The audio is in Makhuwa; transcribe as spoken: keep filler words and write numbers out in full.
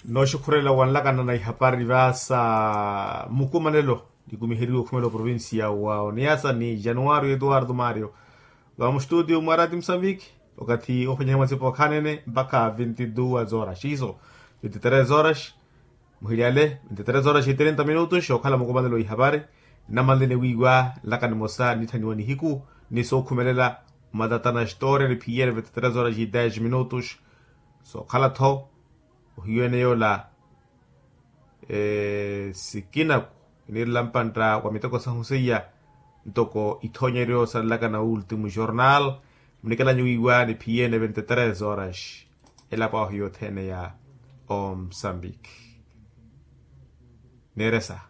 Nooxukhurela wanlakana na ihapari vaasa mukumanelo nikumiheriwe okhumela oprovincia wa oniasa ni januario eduardo mario. Vamo studio mwarati musambiki okathi okhwenyehe mwatsipo khanene mpakha vinti duas horas iso vinti tres horas. Muhilyale vinti tres horas i trinta minutos okhala mukumanelo ihapari. Nnamanlene wiiwa nlaka nimosa nitthaniwa nihiku ni sookhumelela. Omatatana história niphiyene vinti tres horas i dez minutos. Sookhala-tho ohiyo ene yola sikinaku iniirela mpantta wa miteko sahu seiya. Ntoko ithoonyeryo sanlaka na ultimo jornal munikelanyu wiiwa niphiyene vinti tres horas. Elapo ahu yothene ya omsambiki. Neeresa.